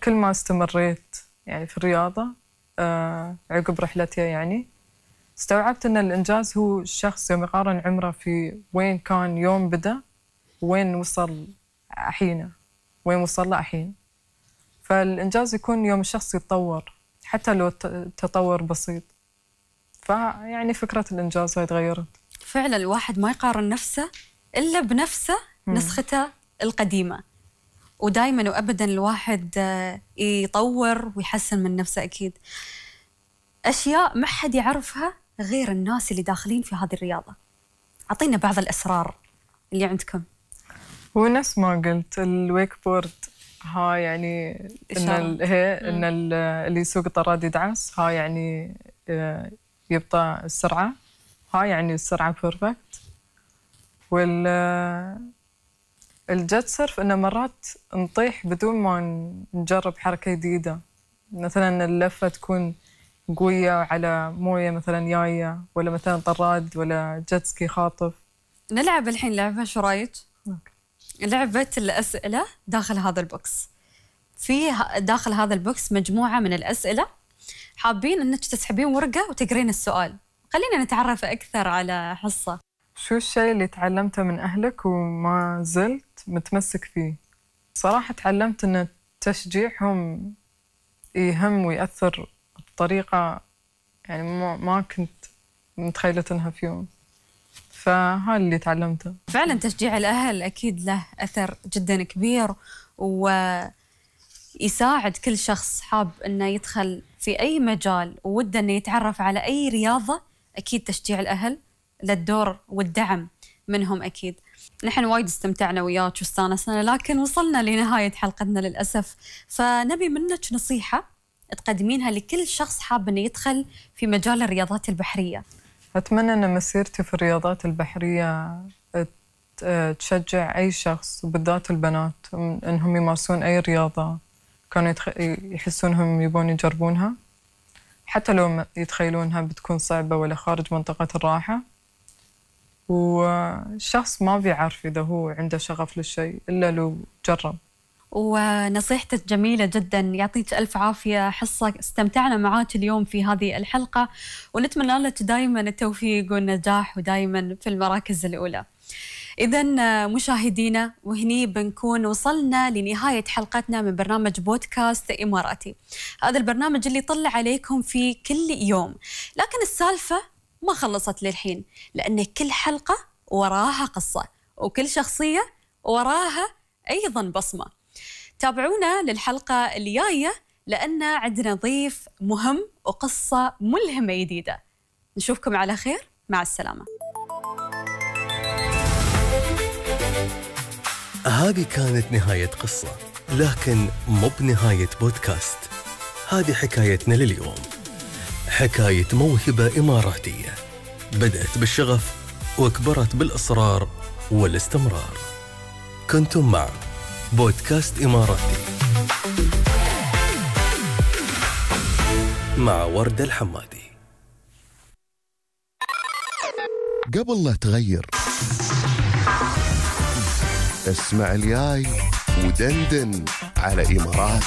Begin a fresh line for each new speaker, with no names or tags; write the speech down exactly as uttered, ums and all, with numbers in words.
كل ما استمريت يعني في الرياضة عقب رحلتي يعني استوعبت أن الإنجاز هو الشخص يوم يقارن عمره في وين كان يوم بدأ وين وصل الحين وين وصل له الحين. فالإنجاز يكون يوم الشخص يتطور حتى لو تطور بسيط. فيعني فكرة الإنجاز هاي تغيرت.
فعلا الواحد ما يقارن نفسه إلا بنفسه نسخته القديمة، ودائما وأبدا الواحد يطور ويحسن من نفسه أكيد. أشياء ما حد يعرفها غير الناس اللي داخلين في هذه الرياضة. أعطينا بعض الأسرار اللي عندكم.
هو نفس ما قلت الويك بورد ها يعني إن هي إن اللي يسوق طراد يدعس، ها يعني يبطأ السرعة، ها يعني السرعة بيرفكت. وال الجت سيرف إنه مرات نطيح بدون ما نجرب حركة جديدة، مثلا اللفة تكون قوية على موية مثلا جاية، ولا مثلا طراد ولا جت سكي خاطف.
نلعب الحين لعبة، شو رايك؟ لعبة الأسئلة داخل هذا البوكس. في داخل هذا البوكس مجموعة من الأسئلة، حابين أنك تسحبين ورقة وتقرين السؤال. خلينا نتعرف أكثر على حصة.
شو الشيء اللي تعلمته من أهلك وما زلت متمسك فيه؟ صراحة تعلمت أن تشجيعهم يهم ويأثر بطريقة يعني ما كنت متخيلة أنها في يوم. فهذا اللي تعلمته.
فعلا تشجيع الأهل أكيد له أثر جدا كبير، ويساعد كل شخص حاب أنه يدخل في أي مجال ووده أنه يتعرف على أي رياضة. أكيد تشجيع الأهل للدور والدعم منهم أكيد. نحن وايد استمتعنا وياك واستانسنا، لكن وصلنا لنهاية حلقتنا للأسف. فنبي منك نصيحة تقدمينها لكل شخص حاب أنه يدخل في مجال الرياضات البحرية.
أتمنى أن مسيرتي في الرياضات البحرية تشجع أي شخص وبالذات البنات أنهم يمارسون أي رياضة كانوا يحسونهم يبون يجربونها، حتى لو يتخيلونها بتكون صعبة ولا خارج منطقة الراحة. والشخص ما بيعرف إذا هو عنده شغف للشيء إلا لو جرب.
ونصيحتك جميلة جدا، يعطيك ألف عافية حصة. استمتعنا معاك اليوم في هذه الحلقة، ونتمنى لك دائما التوفيق والنجاح ودائما في المراكز الأولى. إذن مشاهدينا، وهني بنكون وصلنا لنهاية حلقتنا من برنامج بودكاست إماراتي. هذا البرنامج اللي يطلع عليكم في كل يوم، لكن السالفة ما خلصت للحين، لأن كل حلقة وراها قصة، وكل شخصية وراها أيضا بصمة. تابعونا للحلقة اللي جاية، لأن عندنا ضيف مهم وقصة ملهمة جديدة. نشوفكم على خير، مع السلامة.
هذه كانت نهاية قصة، لكن مو بنهاية بودكاست. هذه حكايتنا لليوم، حكاية موهبة إماراتية بدأت بالشغف وكبرت بالإصرار والاستمرار. كنتم مع بودكاست إماراتي مع وردة الحمادي.
قبل لا تغير، اسمع الجاي ودندن على إمارات.